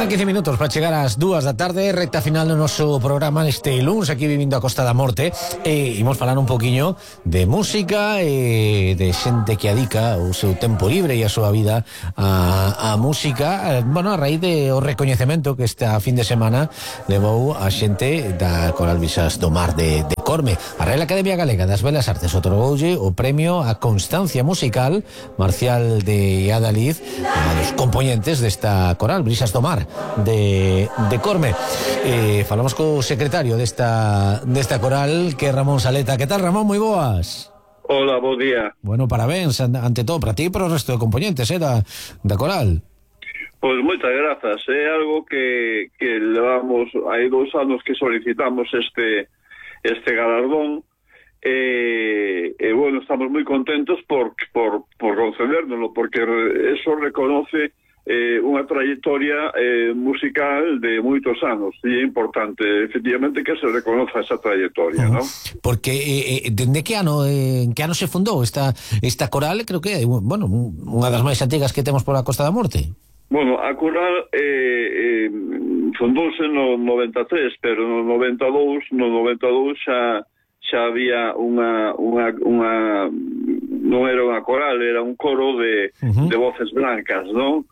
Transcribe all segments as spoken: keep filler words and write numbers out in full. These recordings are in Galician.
Faltan quince minutos para chegar ás dúas da tarde, recta final do noso programa neste luns aquí vivindo a Costa da Morte, e imos falar un poquinho de música e de xente que adica o seu tempo libre e a súa vida a, a música, bueno, a raíz de o recoñecemento que esta fin de semana levou a xente da Coral Brisas do Mar de, de Corme. A Real Academia Galega das Belas Artes otorgoulle o premio a constancia musical Marcial de Adalid, a dos componentes desta Coral Brisas do Mar de, de Corme. Eh, falamos co secretario desta, desta coral, que é Ramón Saleta. Que tal, Ramón? Moi boas. Hola, bo día. Bueno, parabéns ante todo para ti e para o resto de componentes eh, da, da coral. Pois moitas grazas. É algo que, que levamos, hai dous anos que solicitamos este este galardón, e, e bueno, estamos moi contentos por, por, por concedérnoslo, porque eso reconoce eh, unha trayectoria eh, musical de moitos anos, e é importante efectivamente que se reconoza esa trayectoria, uh-huh. ¿no? Porque eh, dende que ano eh, en que ano se fundou esta esta coral? Creo que é, bueno, unha das máis antigas que temos pola Costa da Morte. Bueno, a coral eh, eh, fundouse no noventa e tres, pero no noventa e dous, no noventa e dous xa xa había unha unha unha non era unha coral, era un coro de uh-huh. de voces blancas, non?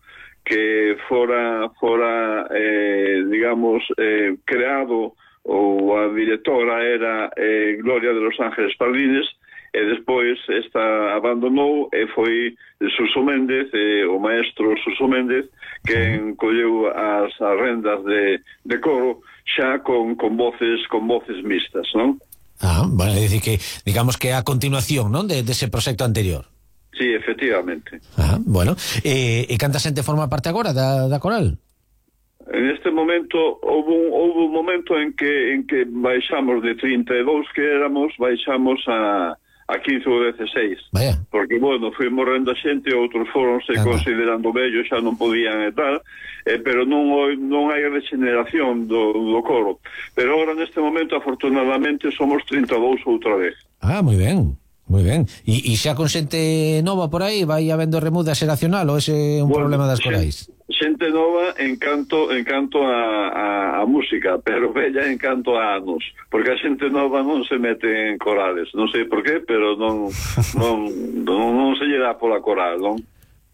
Que fora fora eh, digamos eh, creado, ou a directora era eh, Gloria de los Ángeles Pardines, e despois esta abandonou e foi Suso Méndez, eh, o maestro Suso Méndez, que encolleu as rendas de, de coro xa con, con voces con voces mixtas, non? Ah, bueno, é dicir que, digamos que a continuación, non, de, de ese proxecto anterior. Sí, efectivamente. Ah, bueno, e, e canta xente forma parte agora da, da coral? En este momento houve un, houve un momento en que en que baixamos de trinta e dous que éramos, baixamos a a quince ou dezasseis. Vaya. Porque, bueno, foi morrendo a xente, outros foronse Anda. considerando vellos, xa non podían e tal, eh, pero non, non hai regeneración do, do coro. Pero agora, neste momento, afortunadamente, somos trinta e dous outra vez. Ah, moi ben, moi ben. E, e xa con xente nova por aí, vai habendo remuda xeracional, ou ese é un bueno, problema das corais? Xente nova en canto, en canto a, a, a música, pero bella en canto a anos, porque a xente nova non se mete en corales, non sei por qué, pero non non, non, non se lle dá pola coral, non?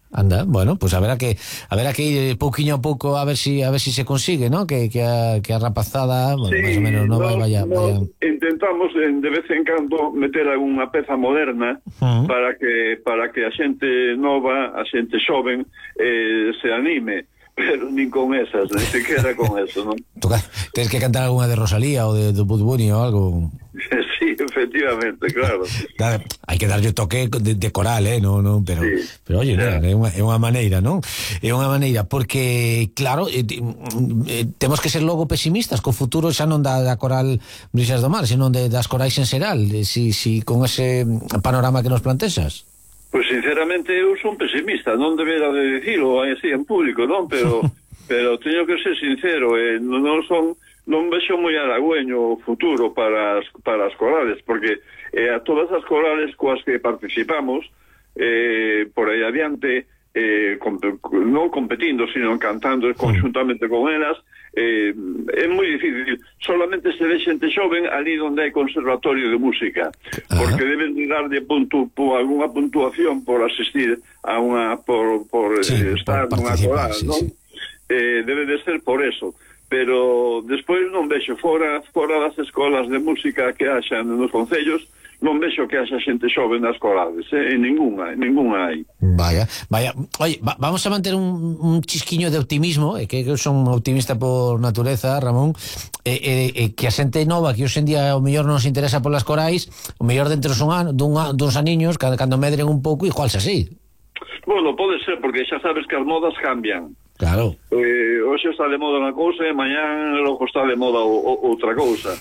Anda, bueno, pues haberá que haberá que ir pouquiño a pouco a ver si a ver si se consigue, ¿no? Que que a, que a rapazada, bueno, sí, máis ou menos nova no, vaya, no, vaya. Intentamos de vez en cando meter algunha peza moderna uh-huh. para que para que a xente nova, a xente xoven eh, se anime. Pero nin con esas, ni siquiera con eso, non? Tens que cantar algunha de Rosalía ou de, de Bad Bunny ou algo. Sí, efectivamente, claro. Hai que darlle toque de, de coral, eh, no, no, pero, sí. pero oye, yeah. é, unha, é unha maneira, non? É unha maneira, porque, claro, eh, eh, temos que ser logo pesimistas, co futuro xa non da, da coral Brisas do Mar, senón de, das corais en xeral, si, si con ese panorama que nos plantexas. Pois sinceramente eu son pesimista, non debera de dicilo así en público, non? Pero pero teño que ser sincero, eh, non son non vexo moi halagüeño o futuro para as, para as corales, porque eh, a todas as corales coas que participamos eh, por aí adiante eh, comp non competindo, sino cantando conjuntamente con elas, eh, é moi difícil. Solamente se ve xente xoven ali onde hai conservatorio de música, porque deben de dar de punto, por alguna puntuación por asistir a unha por, por sí, eh, estar por nunha coral, sí, non? Sí. Eh, debe de ser por eso. Pero despois non vexo fora fora das escolas de música que haxan nos concellos, non vexo que haxa xente xoven nas corales, eh? En ninguna, en ninguna hai. Vaya, vaya. Oye, va, vamos a manter un, un chisquiño de optimismo, eh, que eu son optimista por natureza, Ramón, eh, eh, eh, que a xente nova que hoxe en día o mellor non se interesa polas corais, o mellor dentro son an, dun, duns aniños, cando, cando medren un pouco, igual xa así. Bueno, pode ser, porque xa sabes que as modas cambian. Claro. Eh, hoxe está de moda unha cousa e mañán logo está de moda o, o, outra cousa.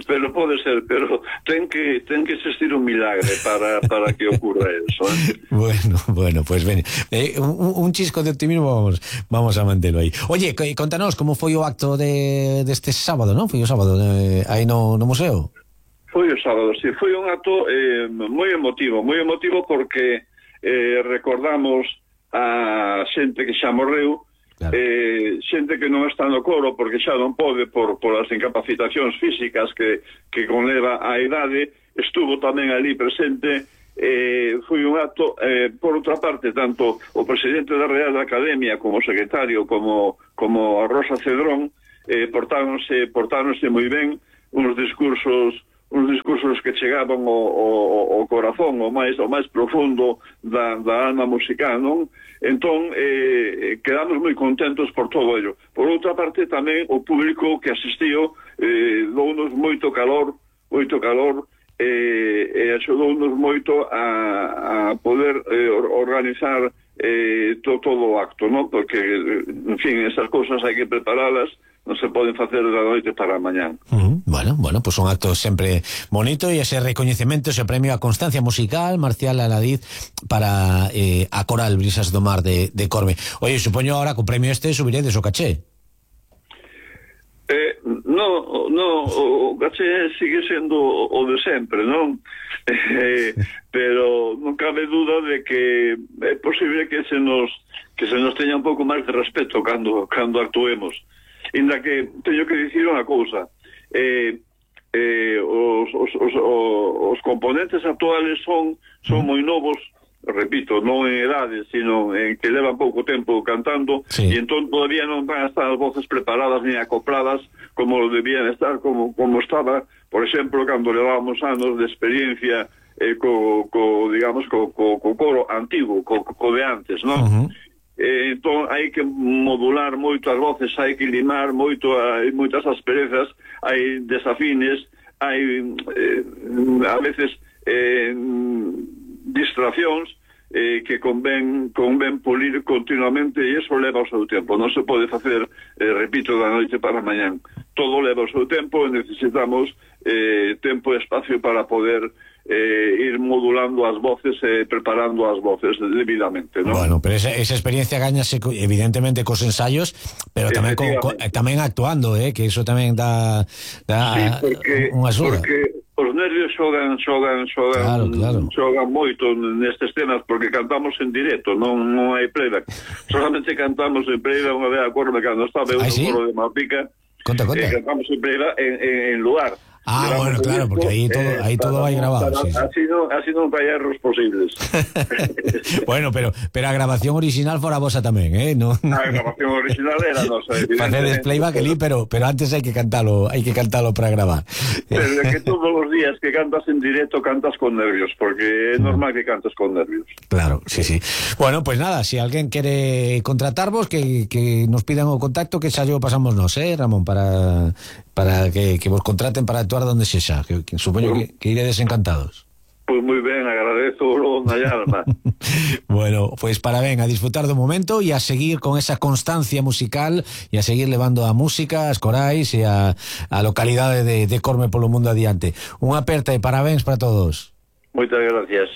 Pero pode ser, pero ten que ten que existir un milagre para, para que ocurra eso, ¿eh? Bueno, bueno, pues ven, eh, un, un chisco de optimismo vamos, vamos a manterlo aí. Oye, contanos como foi o acto de deste sábado, non? Foi o sábado eh, aí no, no museo. Foi o sábado, sí, foi un acto eh, moi emotivo, moi emotivo porque eh, recordamos a xente que xa morreu claro. eh, xente que non está no coro porque xa non pode por, por as incapacitacións físicas que, que conleva a idade, estuvo tamén ali presente. Eh, foi un acto, eh, por outra parte, tanto o presidente da Real Academia como o secretario como, como a Rosa Cedrón eh, portáronse, portáronse moi ben, uns discursos uns discursos que chegaban ao, ao, ao corazón, o máis o máis profundo da, da alma musical, non? Entón, eh, quedamos moi contentos por todo ello. Por outra parte, tamén o público que asistiu eh, dounos moito calor, moito calor, e eh, axudounos moito a, a poder eh, organizar eh, to, todo o acto, non? Porque, en fin, esas cousas hai que preparalas, non se poden facer da noite para a mañán. Uh-huh. Bueno, bueno, pues un acto sempre bonito e ese recoñecemento, ese premio a constancia musical, Marcial Aladiz, para eh, a Coral Brisas do Mar de, de Corme. Oye, supoño ahora que o premio este subiredes o caché. Eh, no, no, o caché sigue sendo o de sempre, non? Eh, pero non cabe duda de que é posible que se nos que se nos teña un pouco máis de respeto cando cando actuemos. Inda que teño que dicir unha cousa, eh, eh, os, os, os, os componentes actuales son son moi novos, repito, non en edades, sino en que levan pouco tempo cantando, sí. E entón todavía non van a estar as voces preparadas ni acopladas como debían estar, como, como estaba, por exemplo, cando levábamos anos de experiencia eh, co, co, digamos, co, co, co coro antigo, co, co de antes, non? Uh-huh. Eh, entón hai que modular moito as voces, hai que limar moito, hai moitas asperezas, hai desafines, hai eh, a veces eh, distraccións eh, que convén, convén pulir continuamente, e iso leva o seu tempo, non se pode facer, eh, repito, da noite para mañán, todo leva o seu tempo e necesitamos eh, tempo e espacio para poder eh, ir modulando as voces e eh, preparando as voces debidamente, ¿no? Bueno, pero esa, esa experiencia gañase evidentemente cos ensayos, pero tamén co, co, tamén actuando, eh, que eso tamén dá, dá sí, porque, unha axuda. Porque os nervios xogan, xogan, xogan, claro, claro. xogan moito nestes temas porque cantamos en directo, non, non hai playback. Solamente cantamos en playback unha vez a Corme cando estaba eu no coro de Malpica. Conta, conta. Eh, cantamos en playback en, en, en lugar. Ah, bueno, claro, porque ahí todo, eh, ahí todo vai grabado. Para, sí, sí. Así non, así non vai erros posibles. Bueno, pero pero a grabación original fora vosa tamén, eh? No, a grabación original era nosa. Facedes playback ali, pero pero antes hai que cantalo, hai que cantalo para gravar. Pero é que todos os días que cantas en directo cantas con nervios, porque é normal que cantes con nervios. Claro, sí, sí. Bueno, pues nada, si alguén quere contratarvos, que, que nos pidan o contacto, que xa yo pasamos nos, eh, Ramón, para para que, que vos contraten para actuar donde sexa, que, que supoño que, que iredes encantados. Pois pues moi ben, agradezo na alma. Bueno, pois pues para ben, a disfrutar do momento e a seguir con esa constancia musical e a seguir levando a música, as corais e a, a localidade de, de Corme polo mundo adiante. Unha aperta e parabéns para todos. Moitas gracias.